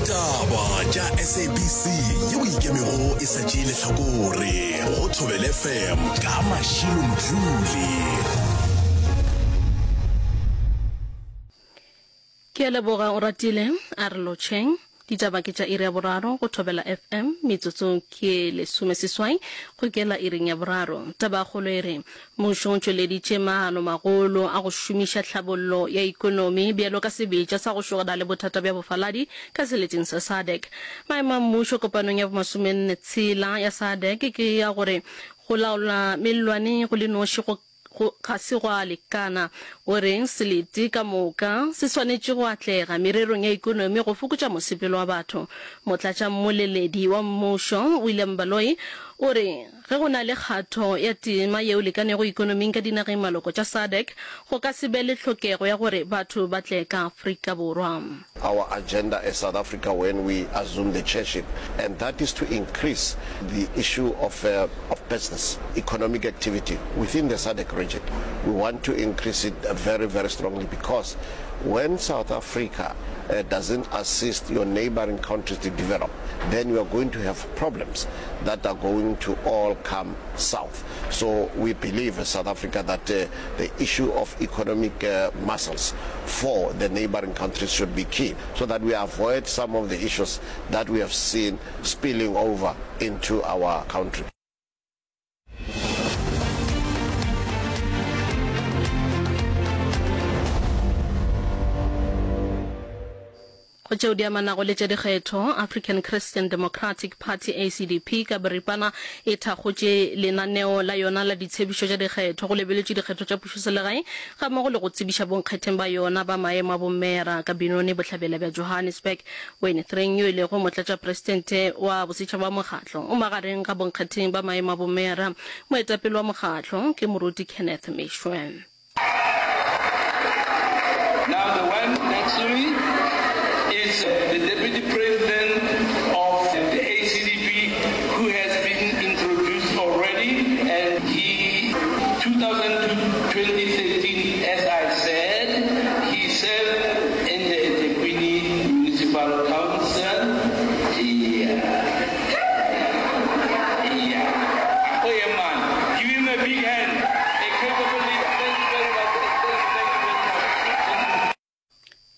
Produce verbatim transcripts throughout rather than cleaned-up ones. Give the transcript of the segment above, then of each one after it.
Ditaba tša S A B C yeo ikemego e sa tšee lehlakore go Thobela F M ka Mashilo Mdluli. Ke a leboga o ratile a re lotšheng. Ditaba ke tša iri ya boraro go Thobela F M, metsotso ke lesome seswai go kela iring ya boraro. Tabakgolo e re mmušo o tšweleditše maano magolo a go šomiša tlhabollo ya ikonomi bjalo ka sebetša sa go šogana le bothata bja bofaladi ka seleteng sa SADC. Maemo a mmušo kopanong ya bomasomenne tshela ya SADC ke ya gore go laola mellwane go le noši go go ga se gwa lekana. O re selete ka moka se swanetše go atlega mererong ya ikonomi go fokotša mosepelo wa batho. Motlatšammoleledi wa mmušo William Baloyi o re ge go na le kgatho ya tema yeo lekanego ikonoming ka dinageng maloko tša SADC, go ka se be le tlhokego ya gore batho ba tle ka Afrika Borwa. Our agenda as South Africa when we assume the chairship, and that is to increase the issue of, uh, of business, economic activity within the SADC region. We want to increase it very, very strongly because when South Africa uh, doesn't assist your neighboring countries to develop, then you are going to have problems that are going to all come south. So we believe as South Africa that uh, the issue of economic uh, muscles for the neighboring countries should be key so that we avoid some of the issues that we have seen spilling over into our country. Go tšeo di amanago le tša dikgetho, African Christian Democratic Party, A C D P ka boripana, e thakgotše lenaneo la yona la ditshepišo tša dikgetho go lebeletšwe dikgetho tša pušoselegae gammogo le go tsebiša bonkgetheng ba yona ba maemo a bomeyara ka Benoni, bohlabela bja Johannesburg. Wayne Thring, yo e lego motlatšapresidente wa bosetšhaba wa mokgatlo, o magareng ga bonkgetheng ba maemo a bomeyara. Moetapele wa mokgatlo ke Moruti Kenneth Meshwe. Now the one next to me is the Deputy President of the A C D P, who has been introduced already, and he, two thousand to twenty thirteen, as I said, he served in the eThekwini Municipal Council. Yeah. Yeah. Oh yeah, man. Give him a big hand. A capable leader. Thank you very much. Thank you, thank you very much.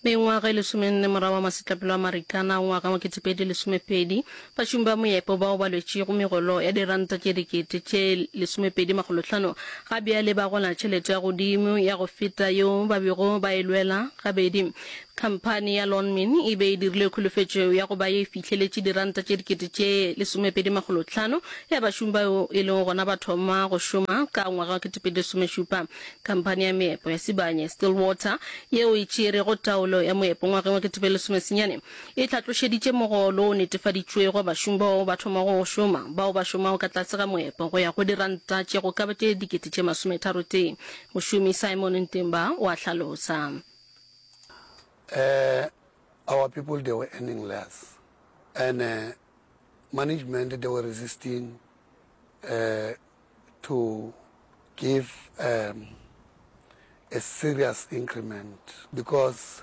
Mengwaga e lesomenne morago wa masetlapelo a Marikana ngwaga wa ketepedi lesomepedi, bašomi ba moepo bao ba lwetšego megolo ya diranta tše dikete tše lesomepedi makgolohlano ga bjale ba gola tšhelete ya godimo ya go feta yeo ba bego ba e lwela gabedi. Khamphani ya Lonmin e be e dirile kholofetšo ya go ba ye fihleletše diranta tše dikete tše lesomepedi makgolohlano ya bašomi bao e lego gona ba thoma go šoma ka ngwaga wa ketepedi lesomešupa. Khamphani ya meepo ya Sibanye Stillwater, yeo e tšerego taolo ya moepo ngwageng wa ketepedi lesomesenyane, e hlatlošeditše mogolo o netefaditšwego bašomi bao ba thomago go šoma bao ba šomago ka tlase ga moepo go ya go diranta tše go ka ba tše dikete tše masometharo tee. Mošomi Simon Ntemba o a hlalosa. uh, our people, they were earning less, and uh, management, they were resisting uh, to give um, a serious increment because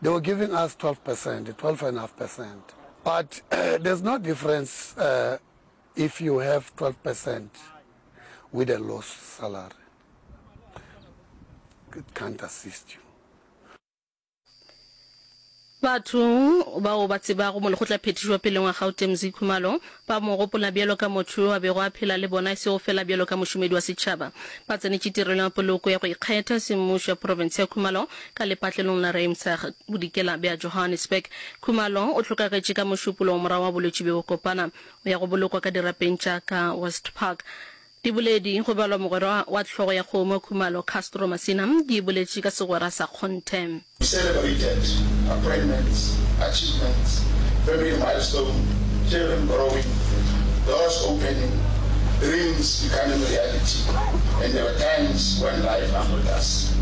they were giving us twelve percent, twelve point five percent. But uh, there's no difference uh, if you have twelve percent with a low salary. It can't assist you. Batho bao ba tsebago molekgotlaphethiši wa peleng wa Gauteng Mzi Khumalo ba mo gopola bjalo ka motho yo a bego a phela le bona, e sego fela bjalo ka mošomedi wa setšhaba. Ba tsenetše tirelo ya poloko ya go ikgetha semmušo ya profense ya Khumalo ka lepatlelong la Ruimsig, bodikela bja Johannesburg. Khumalo o hlokagetše ka Mošupologo morago wa bolwetši bjo bokopana. O ya go bolokwa ka dirapeng tša ka West Park. Diboledi go balwa mogwera wa hlogo ya kgomo Khumalo, Castro Masina, di boletše ka segwera sa kgonthe. We celebrated appointments, achievements, family milestones, children growing, doors opening, dreams becoming reality, and there were times when life humbled us.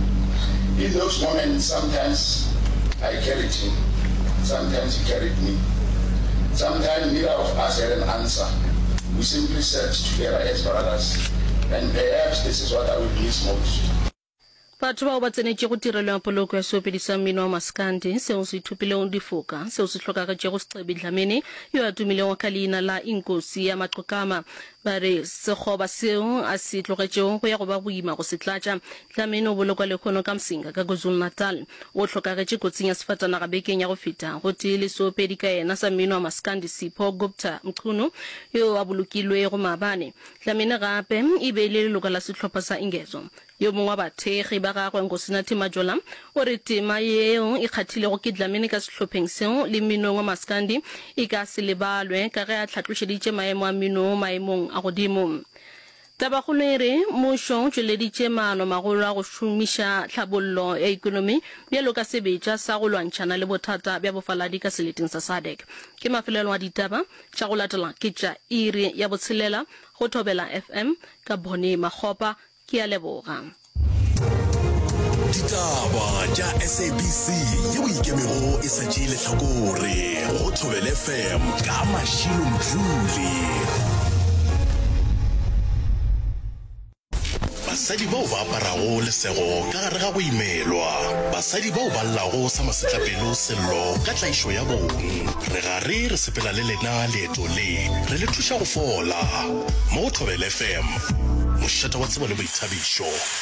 In those moments, sometimes I carried him, sometimes he carried me. Sometimes neither of us had an answer. We simply sat together as brothers, and perhaps this is what I will miss most. Batho bao ba tsenetšego tirelo ya poloko ya seopedi sa mmino wa maskandi seo se ithopilego difoka seo se hlokagetšego Scebi Dlamini yo a tumilego ka leina la Inkosi ya Maqokama ba re sekgoba seo a se tlogetšego go ya go ba boima go se tlatša. Dlamini o bolokwa lehono ka Msinga ka KwaZulu-Natal. O hlokagetše kotsing ya sefatanaga bekeng ya go feta gotee le seopedi ka yena sa mmino wa maskandi Sipho Gupta Mchunu yo a bolokilwego maabane. Dlamini gape e be e le leloko la sehlopha sa Ingezo. Yo mongwe wa bathekgi ba gagwe, Nkosinathi Majola, o re tema yeo e kgathilego ke Dlamini ka sehlopheng seo le mminong wa maskandi e ka se lebalwe ka ge a hlatlošeditše maemo a mmino maemong a godimo. Tabakgolo e re mmušo o tšweleditše maanomagolo a go šomiša tlhabollo ya ekonomi bjalo ka sebetša sa go lwantšhana le bothata bja bofaladi ka seleteng sa SADC. Ke mafelelo a ditaba tša go latela ke tša iri ya botshelela go Thobela F M ka Bonnie Makgopa. Ke a leboga. Ditaba tša S A B C yeo ikemego e sa tšee lehlakore go Thobela F M ka Mashilo Mdluli. Basadi bao ba aparago lesego ka gare ga go imelwa, basadi bao ba llago sa masetlapelo sello ka tlaišo ya bong. Re gare re sepela le lena leeto le, re le thuša go fola. Mo go Thobela F M, mošate wa tsebo le boithabišo.